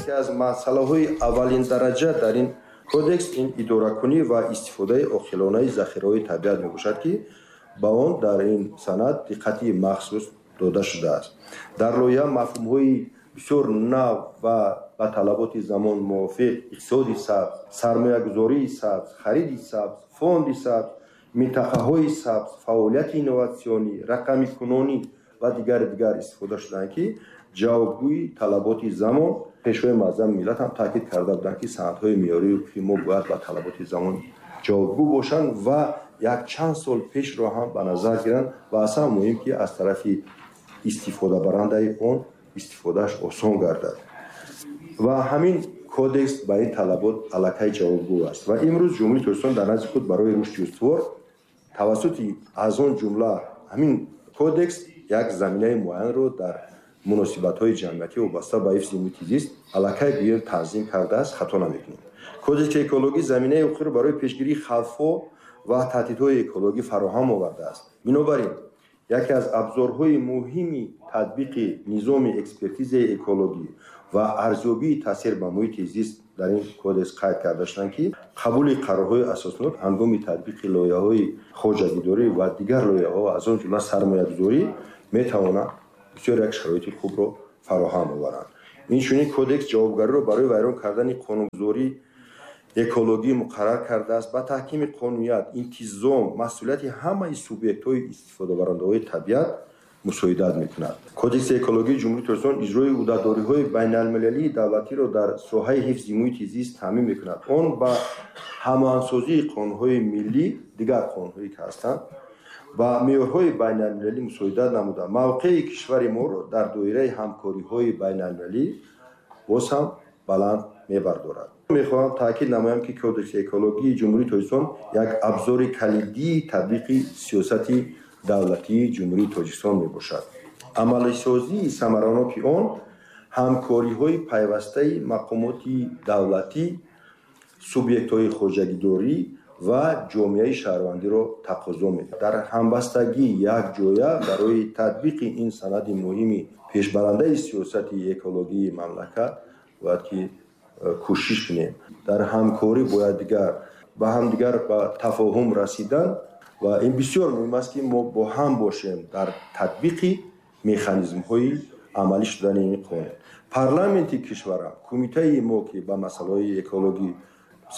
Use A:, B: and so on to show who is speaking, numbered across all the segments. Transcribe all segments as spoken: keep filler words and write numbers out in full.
A: Яке аз масъалаҳои аввалин дараҷа дар ин кодекс ин идоракунӣ ва истифодаи оқилонаи захираҳои табиат мебошад, ки ба он дар ин санад диққати махсус дода шудааст. Дар лоиҳа мафҳумҳои бисёр нав ва ба талаботи замон мувофиқ иқтисоди сабз, сармоягузории сабз, хариди сабз, фонди сабз, минтақаҳои сабз, фаъолияти инноватсионӣ, рақамикунонӣ ва дигари дигар истифода шуданд, ки ҷавобгӯи талаботи замон. Пешвои муаззами миллат ҳам таъкид карда буданд, ки санадҳои меъёрии ҳуқуқии мо бояд ба талаботи замон ҷавобгӯ бошанд ва якчанд сол пешро ҳам ба назар гиранд ва аслан муҳим ки аз тарафи истифодабарандаи он истифодааш осон гардад. Ва ҳамин кодекс ба ин талабот аллакай ҷавобгӯ аст ва имрӯз Ҷумҳурии Тоҷикистон дар назди худ барои рушди устувор тавассути аз он ҷумла ҳамин кодекс як заминаи муайянро дар муносибатҳои ҷамъиятӣ вобаста ба ҳифзи муҳити зист аллакай гӯем танзим кардааст, хато намекунем. Кодекси экологӣ заминаи ҳуқуқиро барои пешгирии хавфҳо ва таҳдидҳои экологӣ фароҳам овардааст. Бинобар ин яке аз абзорҳои муҳими татбиқи низоми экспертизаи экологӣ ва арзёбии таъсир ба муҳити зист дар ин кодекс қайд карда шуданд, ки қабули қарорҳои асоснок ҳангоми татбиқи лоиҳаҳои хоҷагидорӣ ва дигар лоиҳаҳо аз он ҷумла сармоягузорӣ метавонанд бисёр як шароити хубро фароҳам оваранд. Инчунин кодекс ҷавобгариро барои вайрон кардани қонунгузорӣ экологӣ муқаррар кардааст, ба таҳкими қонуният, интизом, масъулияти ҳамаи субъектҳои истифодабарандаҳои табиат мусоидат мекунад. Кодекси экологии Ҷумҳурии Тоҷикистон иҷрои ӯҳдадориҳои байналмилалии давлатиро дар соҳаи ҳифзи муҳити зист таъмин мекунад. Он ба ҳамоҳангсозии қонунҳои миллӣ, дигар қонунҳое ки ҳастанд, ба меъёрҳои байналмилалӣ мусоидат намуда, мавқеи кишвари моро дар доираи ҳамкориҳои байналмилалӣ боз ҳам баланд мебардорад. Мехоҳам таъкид намоям, ки Кодекси экологии Ҷумҳурии Тоҷикистон як абзори калидии татбиқи сиёсати давлатии Ҷумҳурии Тоҷикистон мебошад. Амалисозии самараноки он ҳамкориҳои пайвастаи мақомоти давлатӣ, субъектҳои хоҷагидорӣ ва ҷомеаи шаҳрвандиро тақозо мекунад. Дар ҳамбастагӣ якҷоя барои татбиқи ин санади муҳими пешбарандаи сиёсати экологии мамлакат бояд ки кӯшиш кунем. Дар ҳамкорӣ бояд дигар ба ҳамдигар ба тафоҳум расидан ва ин бисёр муҳим аст, ки мо бо ҳам бошем дар татбиқи механизмҳои амалӣ шудани ин қонун. Парламенти кишварам, кумитаи мо, ки ба масъалаҳои экологӣ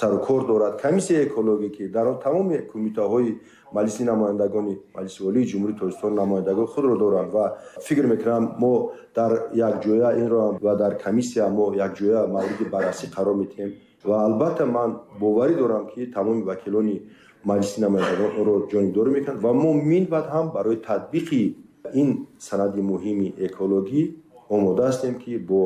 A: сару кор дорад, комиссияи экологӣ, ки дар он тамоми кумитаҳои Маҷлиси намояндагони Маҷлиси Олии Ҷумҳурии Тоҷикистон намояндагони худро доранд ва фикр мекунам мо дар якҷоя инро ва дар комиссия мо якҷоя мавриди баррасӣ қарор медиҳем ва албатта ман боварӣ дорам, ки тамоми вакилони Маҷлиси намояндагон онро ҷонибдорӣ мекунанд ва мо минбаъд ҳам барои татбиқи ин санади муҳими экологӣ омода ҳастем, ки бо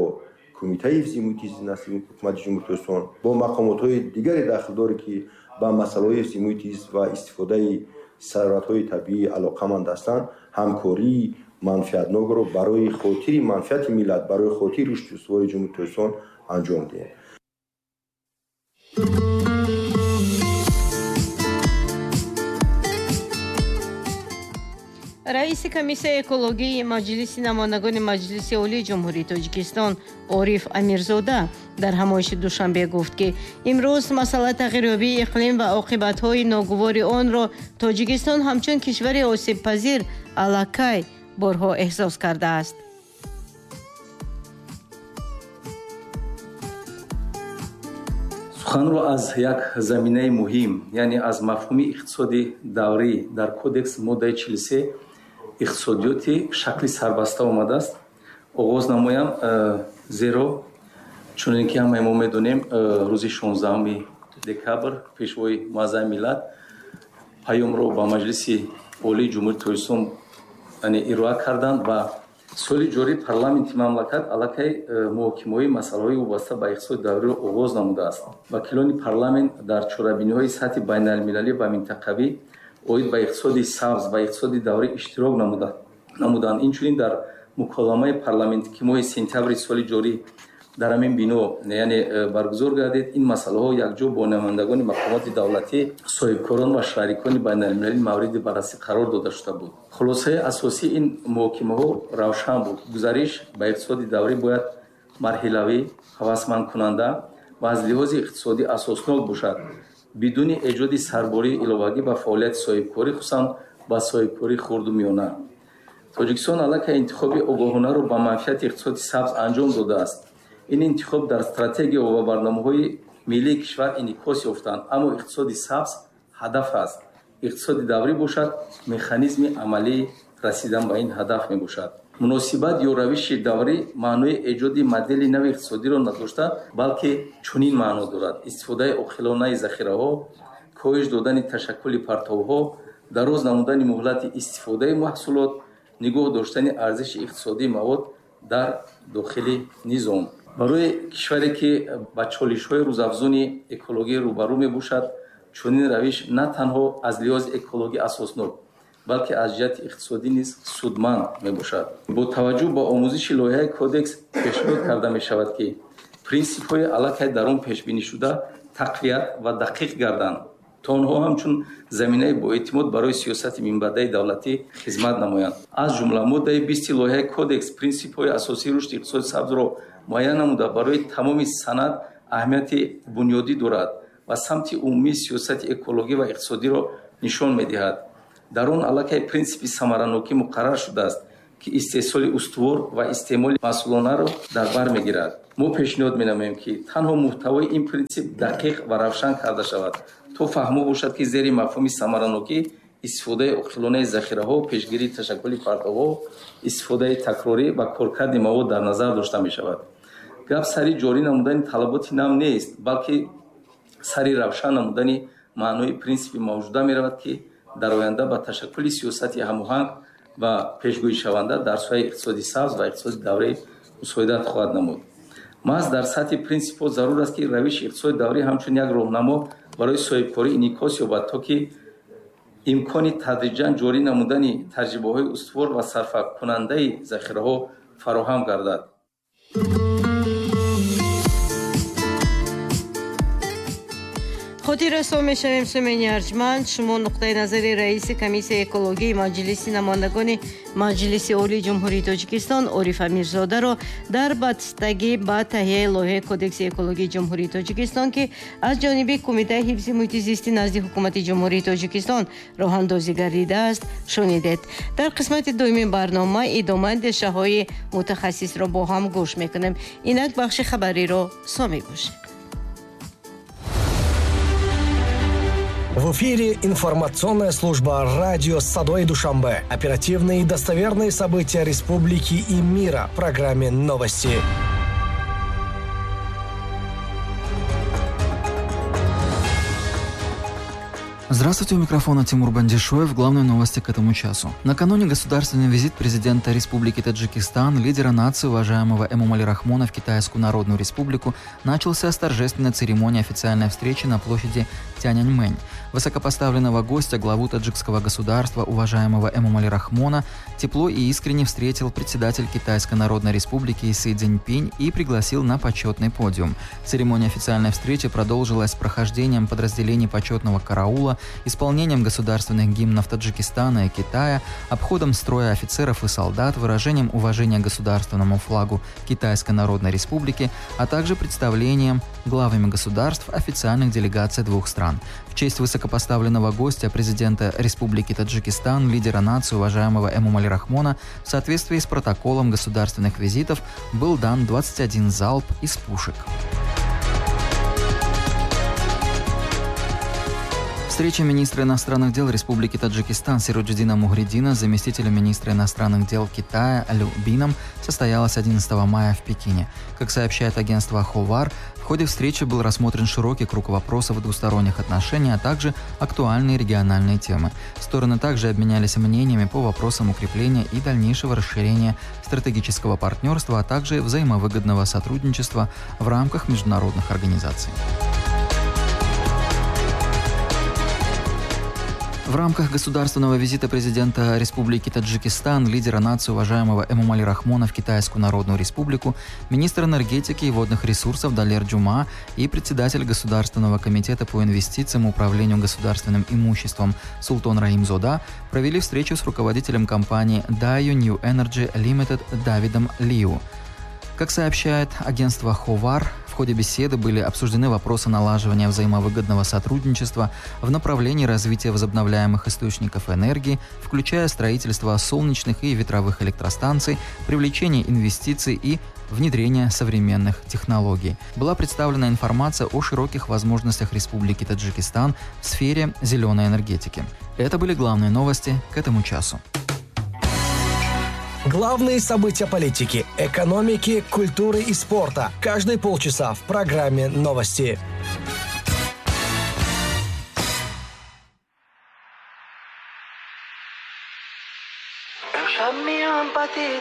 A: кумитаи ҳифзи муҳити зист назди ҳукумати Ҷумҳурии Тоҷикистон, бо мақомотҳои дигари дахлдоре, ки ба масъалаҳои ҳифзи муҳити зист ва истифодаи сарватҳои табиӣ алоқаманд ҳастанд, ҳамкории манфиатнокро барои хотири манфиати миллат, барои хотири рушди устувори Ҷумҳурии Тоҷикистон анҷом диҳем.
B: Раиси комиссияи экологии Маҷлиси намояндагони Маҷлиси Олии Ҷумҳурии Тоҷикистон Ориф Амирзода дар ҳамоиши Душанбе гуфт, ки имрӯз масъалаи тағйирёбии иқлим ва оқибатҳои ногувори онро Тоҷикистон ҳамчун кишвари осебпазир аллакай борҳо эҳсос кардааст.
C: Суханро аз як заминаи муҳим, яъне аз мафҳуми иқтисоди даврӣ дар кодекс моддаи чилу се иқтисодиёти шакли сарбаста омадааст оғоз намоям, зеро чунин ки ҳамаи мо медонем, рӯзи шонздаҳуми декабр Пешвои муаззами миллат паёмро ба Маҷлиси Олии Ҷумҳурии Тоҷикистон ироа карданд ва соли ҷорӣ парламенти мамлакат аллакай муҳокимаҳои масъалаҳои вобаста ба иқтисоди давриро оғоз намудааст. Вакилони парламент дар чорабиниҳои сатҳи байналмилалӣ ва минтақавӣ оид ба иқтисоди сабз ва иқтисоди даврӣ иштирок намуданд. Инчунин дар муколамаи парламентӣ, ки моҳи сентябри соли ҷорӣ дар ҳамин бино яъне баргузор гардид, ин масъалаҳо якҷо бо намояндагони мақомоти давлатӣ, соҳибкорон ва шарикони байналмилалӣ мавриди баррасӣ қарор дода шуда буд. Хулосаи асосии ин муҳокимаҳо равшан буд. Гузариш ба иқтисоди даврӣ бояд марҳилавӣ, ҳавасмандкунанда ва аз лиҳози иқтисодӣ асоснок бошад, бидуни эҷоди сарбории иловагӣ ба фаъолияти соҳибкорӣ, хусусан ба соҳибкории хурду миёна. Тоҷикистон аллакай интихоби огоҳонаро ба манфиати иқтисоди сабз анҷом додааст. Ин интихоб дар стратегия ва барномаҳои миллии кишвар инъикос ёфтанд, аммо иқтисоди сабз ҳадаф аст. Иқтисоди даврӣ бошад, механизми амалии расидан ба ин ҳадаф мебошад. Муносибат ё равиши даврӣ маънои эҷоди модели нави иқтисодиро надошта, балки чунин маъно дорад: истифодаи оқилонаи захираҳо, коҳиш додани ташаккули партовҳо, дароз намудани муҳлати истифодаи маҳсулот, нигоҳ доштани арзиши иқтисодии мавод дар дохили низом. Барои кишваре ки ба чолишҳои рӯзафзуни экологӣ рӯбарӯ мебошад, чунин равиш на танҳо аз лиҳози экологӣ асоснок, балки аз ҷиҳати иқтисодӣ низ судманд мебошад. Бо таваҷҷӯҳ ба омӯзиши лоиҳаи кодекс пешниҳод карда мешавад, ки принсипҳои аллакай дар он пешбинишуда тақвият ва дақиқ гарданд, то онҳо ҳамчун заминаи боэътимод барои сиёсати минбаъдаи давлатӣ хизмат намоянд. Аз ҷумла моддаи бисти лоиҳаи кодекс принсипҳои асосии рушди иқтисоди сабзро муайян намуда, барои тамоми санад аҳамияти бунёдӣ дорад ва самти умумии сиёсати экологӣ ва иқтисодиро нишон медиҳад. Дар он аллакай принсипи самаранокӣ муқаррар шудааст, ки истеҳсоли устувор ва истеъмоли масъулонаро дар бар мегирад. Мо пешниҳод менамоем, ки танҳо муҳтавои ин принсип дақиқ ва равшан карда шавад, то фаҳмо бошад, ки зери мафҳуми самаранокӣ истифодаи оқилонаи захираҳо, пешгирии ташаккули партовҳо, истифодаи такрорӣ ва коркарди мавод дар назар дошта мешавад. Гап сари ҷорӣ намудани талаботи нав нест, балки сари равшан намудани маънои принсипи мавҷуда меравад, ки дар оянда ба ташаккули сиёсати ҳамоҳанг ва пешгӯишаванда дар соҳаи иқтисоди сабз ва иқтисоди даврӣ мусоидат хоҳад намуд. Маҳз дар сатҳи принсипҳо зарур аст, ки равиши иқтисоди даврӣ ҳамчун як роҳнамо барои соҳибкорӣ инъикос ёбад, то ки имкони тадриҷан ҷорӣ намудани таҷрибаҳои устувор ва сарфакунандаи захираҳо фароҳам гардад.
B: Хотиррасон мешавем, сумени арҷманд, шумо нуқтаи назари раиси комиссияи экологии Маҷлиси намояндагони Маҷлиси Олии Ҷумҳурии Тоҷикистон Ориф Амирзодаро дар бастагӣ ба таҳияи лоиҳаи Кодекси экологии Ҷумҳурии Тоҷикистон, ки аз ҷониби Кумитаи ҳифзи муҳити зисти назди Ҳукумати Ҷумҳурии Тоҷикистон роҳандозӣ гардидааст, шунидед. Дар қисмати дуюми барнома идомаи андешаҳои мутахассисро бо ҳам гӯш мекунем. Инак бахши хабариро сомӣ бошед.
D: В эфире информационная служба радио «Садои Душанбе». Оперативные и достоверные события республики и мира в программе «Новости».
E: Здравствуйте, у микрофона Тимур Бандишоев. Главные новости к этому часу. Накануне государственный визит президента Республики Таджикистан, лидера нации, уважаемого Эмомали Рахмона, в Китайскую Народную Республику начался с торжественной церемонии официальной встречи на площади Тяньаньмэнь. Высокопоставленного гостя, главу таджикского государства, уважаемого Эмомали Рахмона, тепло и искренне встретил председатель Китайской Народной Республики Си Цзиньпин и пригласил на почетный подиум. Церемония официальной встречи продолжилась с прохождением подразделений почетного караула, исполнением государственных гимнов Таджикистана и Китая, обходом строя офицеров и солдат, выражением уважения государственному флагу Китайской Народной Республики, а также представлением главами государств официальных делегаций двух стран. В честь высокопоставленного гостя президента Республики Таджикистан, лидера нации, уважаемого Эмомали Рахмона, в соответствии с протоколом государственных визитов был дан двадцать один залп из пушек. Встреча министра иностранных дел Республики Таджикистан Сироджиддина Мухриддина с заместителем министра иностранных дел Китая Лю Бином состоялась одиннадцатого мая в Пекине. Как сообщает агентство Ховар, в ходе встречи был рассмотрен широкий круг вопросов двусторонних отношений, а также актуальные региональные темы. Стороны также обменялись мнениями по вопросам укрепления и дальнейшего расширения стратегического партнерства, а также взаимовыгодного сотрудничества в рамках международных организаций. В рамках государственного визита президента Республики Таджикистан, лидера нации, уважаемого Эмомали Рахмона, в Китайскую Народную Республику, министр энергетики и водных ресурсов Далер Джума и председатель Государственного комитета по инвестициям и управлению государственным имуществом Султон Раимзода провели встречу с руководителем компании Dayu New Energy Limited Давидом Лиу. Как сообщает агентство «Ховар», в ходе беседы были обсуждены вопросы налаживания взаимовыгодного сотрудничества в направлении развития возобновляемых источников энергии, включая строительство солнечных и ветровых электростанций, привлечение инвестиций и внедрение современных технологий. Была представлена информация о широких возможностях Республики Таджикистан в сфере зеленой энергетики. Это были главные новости к этому часу.
D: Главные события политики, экономики, культуры и спорта. Каждые полчаса в программе «Новости».